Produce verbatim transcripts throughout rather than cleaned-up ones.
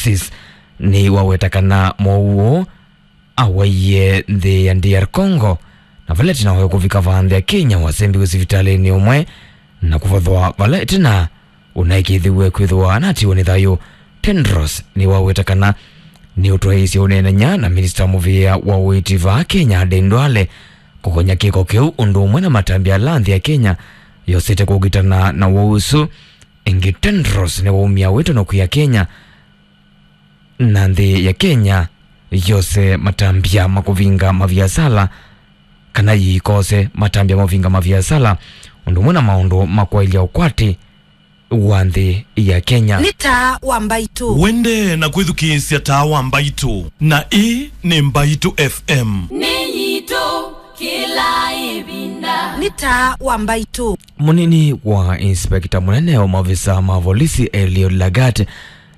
Sis nĩwaweta kana mowau awaie nthĩ ya D R Congo, na vala ĩtina wa kũvika vaa nthĩ ya Kenya wasembiwe sivitalĩnĩ ũmwe na kũvathwa vala ĩtina ũnaĩkĩĩthĩw'e kwĩthĩwa anatiwe nĩ thayũ. Tedros nĩwaweta kana nĩũtwaĩĩsye ũneenany'a na minista mũvĩa wa ũiiti vaa Kenya, Aden Duale, kũkony'a kĩko kĩu ũndũ ũmwe na matambya ala nthĩ ya Kenya yosete kũkitana na woo ũsu. Ĩngĩ, Tedros nĩwaumya wĩtano kwĩ Akenya na nthĩ ya Kenya yose matambya ma kũvinga maviasala, kana yĩikose matambya ma kũvinga maviasala, ũndũ ũmwe na maũndũ ma kwaĩlya ũkwati wa nthĩ ya Kenya. Nĩ taa wa Mbaitũ. Wende na kwĩthukĩĩsya taa wa Mbaitũ, na ĩĩ nĩ Mbaitũ F M. Nĩ yitũ kĩla ĩvinda. Nĩ taa wa Mbaitũ. Mũnini wa inspekta mũnene wa maovisa ma volisi Eliud Lagat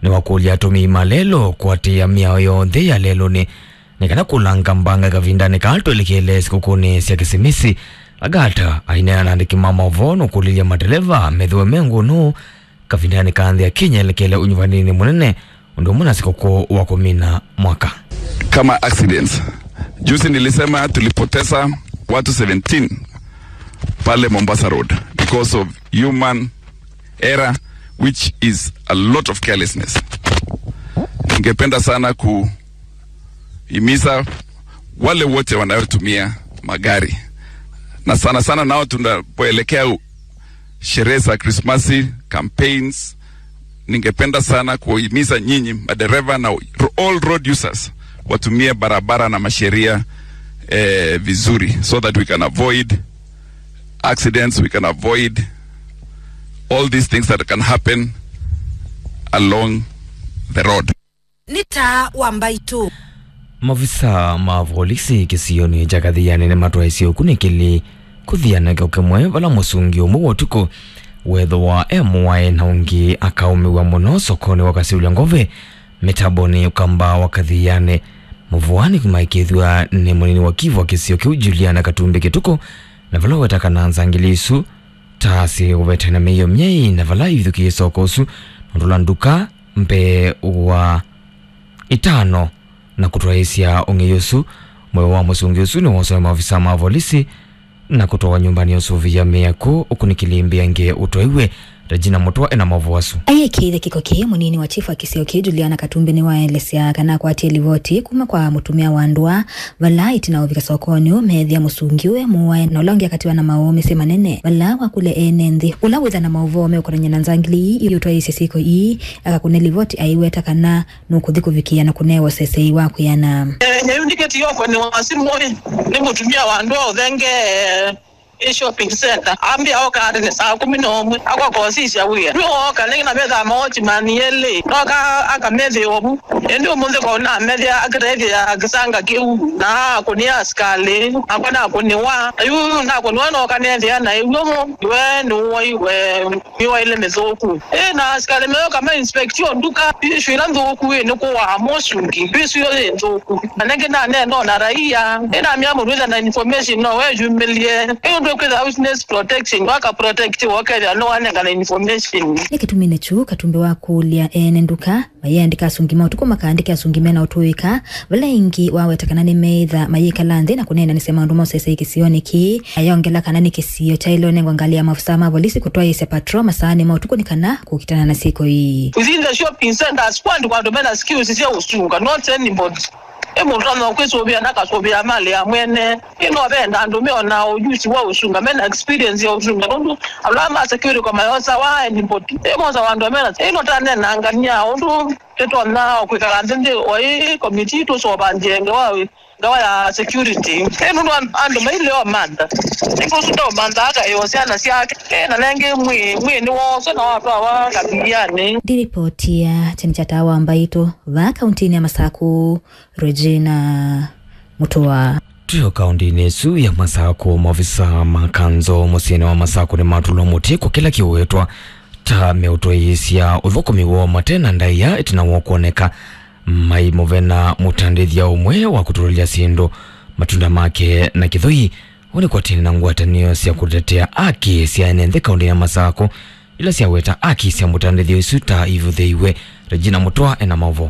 nĩwakũlya atũmĩi ma lelũ kũatĩĩa mĩao yonthe ya lelũnĩ nĩ kana kũlanga mbanga kavindanĩ kaa twelekele sikũkũnĩ sya Kĩsimisi. Lagat aineena na andĩki ma maũvoo nũkũlilye mateleva methĩwe me ngũnũ kavindanĩ ka nthĩ ya Kenya elekele ũnyuvanĩnĩ mũnene ũndũ ũmwe na sikũkũ wa kũmina mwaka. Kama accidents. Juzi nilisema tulipoteza watu seventeen pale Mombasa Road because of human error, which is a lot of carelessness. Ningependa sana kuhimiza wale wote wanayotumia magari, na sana sana nao tunapoelekea u-, sherehe za Krismasi, campaigns, ningependa sana kuhimiza nyinyi madereva na ro-, all road users watumie barabara na masheria, eh, vizuri, so that we can avoid accidents, we can avoid all these things that can happen along the road. Nĩ taa wa Mbaitũ. Maovisa ma volisi kĩsionĩ kya Kathiani nĩmatwaĩsye ũkunĩkĩli kũthiana kĩo kĩmwe vala mũsungi ũmwe wa ũtukũ wethĩwa e mũae na ũngĩ akaũmĩw'a mũno sokonĩ wa Kasiulya Ngove, mĩtambonĩ Ũkamba wa Kathiani. Mũvũani kũmaĩkĩĩthw'a nĩ mũnini wa kivu wa kĩsio kĩu Juliana Katumbi Kĩtukũ, na vala weta kana nzangili isu ta syĩ ũvete na mĩio myei na vala ivithũkĩĩe soko ũsu na ũndũla nduka mbee wa itano na kũtwaĩĩsya ũng'ei ũsu. Mũyo wa mũsungi ũsu nĩwosawe maovisa ma volisi na kũtwawa nyũmbanĩ ya ũsũvĩa mĩako ũkunĩkĩli mbĩa ĩngĩ ũtwaiwe. Regina Mũtwa ena maũvoo asu. Ayĩkĩĩthya kĩko kĩĩ, mũnini wa chief wa kĩsio kĩĩ Juliana Katumbi nĩwaelesya kana akwatie livoti kuma kwa mũtumĩa wa ndũa vala ĩtina wa ũvika sokonĩ ũũ meethĩa mũsungi ũũ e mũae na ũla ũngĩ akatiwa na maũũ mĩsyĩ manene. Vala wakũlya ene nthĩ ũla wĩtha na maũvoo meũkonany'a na nzangili ii iũtwaĩĩsye syĩko ii akakũne livoti aiweta kana nũkũthi kũvikĩa na kũnewa ũsesei wa kwĩana. Eh, nyau ndiketi yoko nĩ wa simũ ĩ, nĩ mũtumĩa wa ndũa ũthenge ĩ shopping center. Ambĩa oka nĩ saa kũmi na ũmwe. Akwa kosisya wĩa. Nĩ oka nĩ na metha maoti mani elĩ. Noka akamethĩa ovu. Ĩndĩ ũmũnthĩ kwa namethĩa akĩtethĩa kĩsanga kĩu. Na akũnĩa asikalĩ. Akwa nakũnĩwa. Yu nakũnĩwa noka nethĩa na ĩw'o mo. We nĩ woi we. Nĩwaĩle mĩthũku. Ĩ, na asikalĩ meũka ma inspect yo nduka, isu ila nthũku, ĩ, nĩ kũwaa mũsungi. Isu yo yĩ nthũku. Na nĩngĩ naneno na raia. Ĩ, namĩa mũndũ wĩtha na information no weyumĩlye. Ĩ, ũndũ kwĩtha witness protection, waka protect wokethĩa no wanengana information. Nĩ kĩtuminĩ kyu Katumbi wakũlya ene nduka mayĩandĩka asungi ma ũtukũ makaandĩke asungi mena ũtũĩka, vala ĩngĩ waweta kana nĩmeĩtha mayĩkala nthĩ na kũneenanĩsya maũndũ ma ũsesei kĩsionĩ kĩĩ. Ayongela kana nĩ kĩsio kyaĩle ũnengwa ngalĩ ya maofisa ma volisi kũtwaĩĩsya patrol masaanĩ ma ũtukũ nĩ kana kũkitana na syĩko ii. Within the shopping centers, kwandũ kwandũ mena skills sya ũsunga, not anybody. Ĩ mũndũ no kwĩsũvĩa na kasũvĩa malĩ ya mwene. Ĩ no venda andũ meona ũjusi wa ũsunga, mena experience ya ũsunga. Nũndũ ala ma security kwa mayosa wa anybody. Ĩ mosa wa andũ mena. Ĩ no tanenangania ũndũ tũtonya kwĩkala nthĩ nthĩ, o ĩ committee tũsovanzie ngewa, ngewa ya security. Ĩ nũndũ an-, andũ maileo mantha. Ĩ kũsu ndo mantha aka ĩo syana syake. Ĩ na nengĩ mwĩ, mwĩ nĩ wose na watwawa kathilianĩ. Ndiripotia cheni cha tawa Mbaitũ, va kaunti-inĩ ya Masaku, Regina Mutua. Twĩ o kaũntĩnĩ ĩsu ya Masakũ, maofisa ma kanzũ mũsyĩnĩ wa Masakũ nĩmatũlwa mũtĩ kwa kĩla kĩwetwa ta meũtwaĩĩsya ũthũkũmi woo mate na ndaĩa ĩtina wa kwoneka maimũvena mũtandĩthya ũmwe wa kũtũlĩlya syĩndũ matunda make na kĩthũi. Ũũ nĩ kwatene na ngwatanĩo sya kũtetea aki sya ene nthĩ kaũntĩnĩ ya Masakũ, ila syaweta aki sya mũtandĩthya ũsu ta ivũthĩiwe. Regina Mũtwa ena maũvoo.